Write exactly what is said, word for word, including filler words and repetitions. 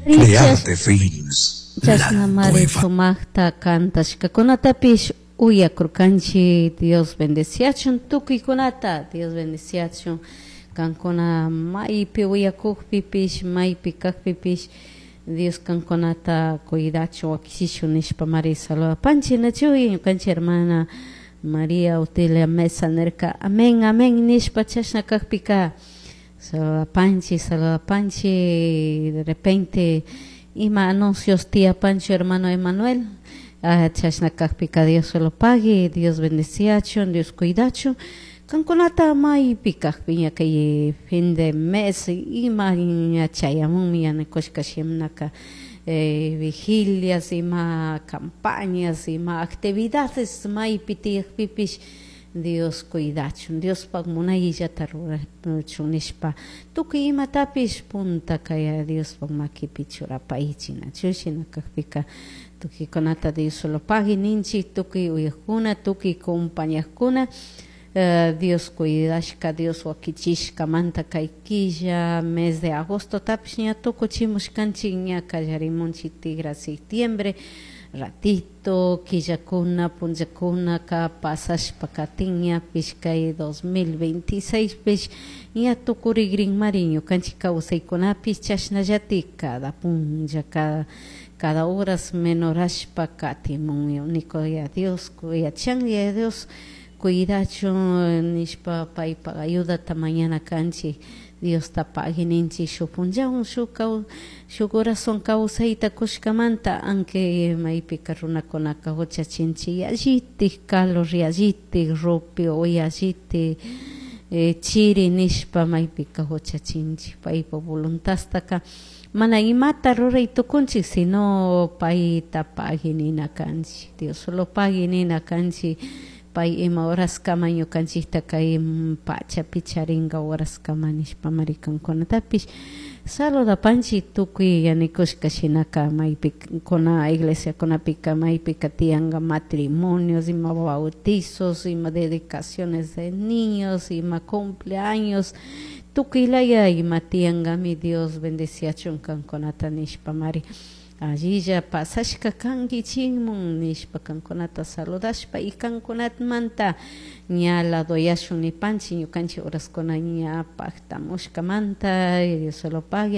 Crearte Films. Chashna mari sumajta cantashcacunatapish uyakurkanchik. Dios bendeciachun tukuykunata, Dios bendeciachun kankuna maypi uyakukpipish, maypi kakpipish, Dios kankunata cuidachun, wakichishun nishpa mari saludapanchik. Nachuy ñukanchik hermana María Otilia Mesa nirka amén, amén nishpa. Chashna kakpika saludapanchik, saludapanchik. De repente ima anuncios tiyapanchu, hermano Emanuel. Ah, chashna kakpika Dios solo pague, Dios bendeciachun, Dios cuidachun kankunata maypi kakpi. Ña kay fin de mes ima ña chayamunmi, yanakushka shimnaka eh, vigilias, ima campañas, ima actividades maypi tiyakpipish, Dios cuidachun, Diospak munayllata rurachun nishpa tukuy imatapish punta kay Diospak makipi churapaychik. Nachu shina kakpika tukuykunata Dios solo pague ninchik, tukuy uyakuna, tukuy compañakuna. Uh, Dios cuidashka, Dios wakichishkamanta kay killa mes de agosto tapish ña tukuchimushkanchik, ña kallarimunchik tigra septiembre. Ratito killakuna punllakunaka pasashpa katin, ñapish kay dos mil veintiséis pish ña tukurigrinmari. Ñukanchik kawsaykunapish chashnallatik cada punlla, cada cada horas menorashpa katimun. Único ya Dios yachan, ya Dios cuidachun nishpa paypak ayudata mañana kanchik. Diosta pagui ninchik shuk punllawan shuk shuk corazón kawsayta kushkamanta, aunque maypika runakunaka huchachinchik yallitik calor, yallitik rupi o yallitik eh, chiri nishpa maypika huchachinchik. Paypak voluntadtaka mana imata ruray tukunchik, sino payta pagui nina kanchik, Dios solo pagui nina kanchik. Pay ima horaskama ñukanchikta kay pachapi charinka horaskama nishpa mari kankunatapish saludapanchik. Tukuy yanikushka shinaka maypi kuna iglesiakunapika maypika tiyanka matrimonios, ima bautizos, ima dedicaciones de niños, ima cumpleaños, tukuy laya ima tiyankami. Dios bendeciachun kankunata nishpa mari allilla pasashka kankichikmun nishpa kankunata saludashpa y kankunamanta ña ladoyashun nipanchik ñukanchik horaskuna ña paktamushkamanta. Dios solo pague.